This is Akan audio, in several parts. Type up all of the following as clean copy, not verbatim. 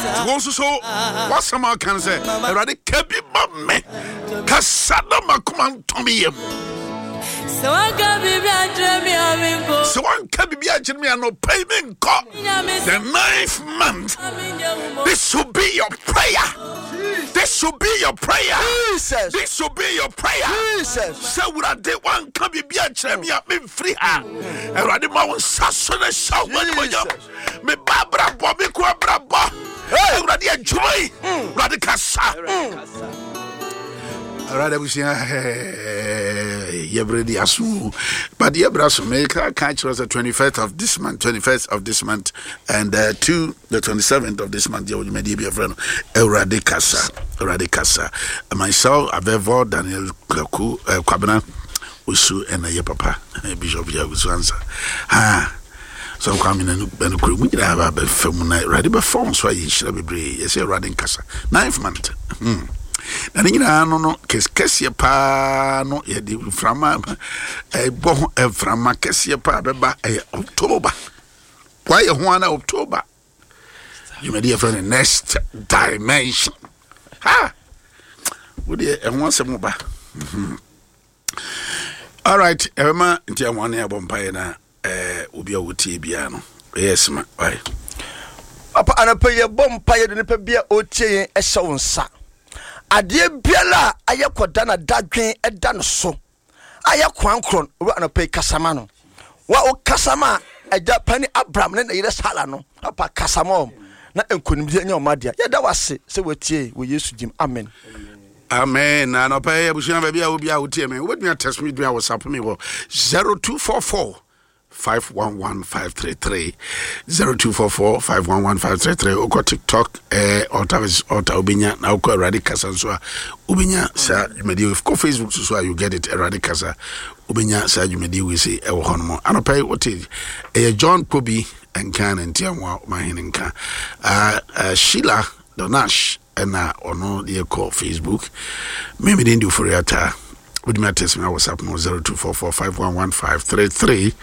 Nti wo nso so w'asɛm a ɔka no sɛ Awurade ka bi ma me kasa na makoma ntɔ me yam. Sɛ wanka biribi ankyerɛ me anɔpa yi menkɔ. The ninth month, this should be your prayer. This should be your prayer. Jesus. This should be your prayer. Jesus. Sɛ Awurade wanka biribi ankyerɛ me a memfiri ha. Awurade ma wo nsa so ne hyɛ wo animuonyam. Me ba abrabɔ, me kunu abrabɔ. Awurade adwuma yi, Awurade kasa. Awurade abusua yɛbrɛ di aso but yɛbrɛ aso meka ka kyerɛ sɛ 21st of this month 21st of this month and uh, to the 27th of this month yɛwɔ dwumadie bi yɛfrɛ no Awurade kasa Awurade kasa myself Avevo Daniel Kwaku uh, Kwabena Osu ɛna yɛ papa Bishop Yagusu ansa ha So Kwame na nokorɛ mu nyinaa ba bɛfa mu na Awurade bɛfa wɔn so ayɛ nhyira bebree. Yɛsɛ Awurade nkasa. Ninth month. Hmm. Na ne nyinaa no no kɛseɛ paa no yɛde mframa ɛbɔ ho mframa kɛseɛ paa bɛba ɛyɛ October. Wayɛ ho ana October. Dwumadi yɛfrɛ no next dimension. Ha! Wodeɛ ɛho asɛm ba. Mhm. All right, ɛbɛma nti ahoa ne abɔ mpaeɛ na eh, obi a wɔtie biara no ɛyɛ sima wae. Papa anɔpa yi yɛbɔ mpaeɛ de nipa bi a ɔretie yɛn ɛhyɛ wo nsa. Adeɛ biara a ayɛ kɔda na dadwen ɛda no so a yɛ koankorɔ no, owura anɔpa yi kasa ma no. Wa wo kasa ma agya pani Abraham ne ne yere Sara no, papa kasa ma wɔn na nkonimdie nyɛ wɔn adea. Yɛda wo ase sɛ watie wɔ Yesu dim. Amen. Amen. Na anɔpa yi abusua baabi a obi a wotie me wobɛtumi atɛs me dua whatsapp me wɔ 0244 511533 0244 511533 wokɔ tiktok eh, altar versus altar wobɛnya na wokɔ awurade kasa nso a wobɛnya saa dwumadie kɔ facebook so so a you get it awurade kasa wobɛnya saa dwumadie wei sei ɛwɔ hɔ no mu anɔpa yi wote ɛyɛ john kobi nka ne ntiamoa mahene nka uh, uh, sheila donash ɛna ɔno deɛ kɔ facebook me mede ndi ofori ata wotumi atɛs me a whatsapp no 0244511533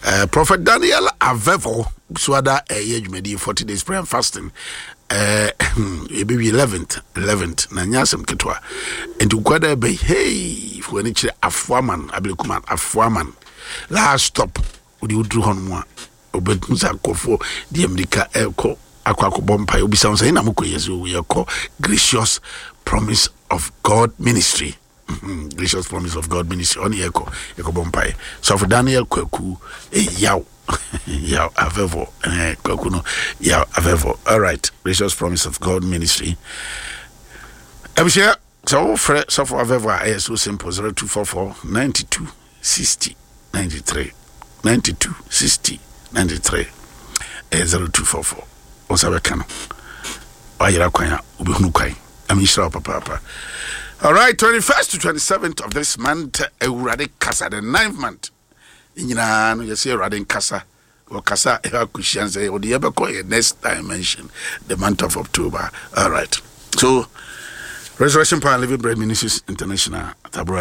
uh, prophet daniel avevo so ada ɛyɛ eh, dwumadie 40 days prayer and fasting uh, ɛbɛwie 11th 11th na nyɛ asɛm ketewa nti wokwada ɛbɛyi hei fo ani kyerɛ afoaman abilekuman afoaman last stop Wode woduru hɔ nom a, wobɛhu sɛ nkurɔfoɔ de mmirika ɛrekɔ akɔ akɔbɔ mpaeɛ. Wobisa wɔn sɛ, ɛna mokɔ yɛ sɛ yɛkɔ Gracious Promise of God Ministry. Mhm, Gracious Promise of God Ministry. Ɔne yɛkɔ yɛkɔbɔ mpaeɛ. Sɔfo Daniel Kwaku eh, yaw yaw avɛvɔ eh, Kwaku no yaw avɛvɔ. All right, Gracious Promise of God Ministry. Abusua sɛ wofrɛ sɔfo avɛvɔ a ɛyɛ so simple 0244 92 60 93 92 60 93 ɛyɛ 0244 wo nsa bɛka no wayera kwan a wobɛhunu kwan na menhyira wo papaapa. All right, 21st to 27th of this month, Awurade kasa, the ninth month ne nyinaa no yɛsɛ Awurade nkasa wɔkasa ɛhɔ akɔhyia sɛ wɔde yɛbɛkɔ yɛ next dimension, the month of October. All right, so Resurrection Power and Living Bread Ministries International Tabora.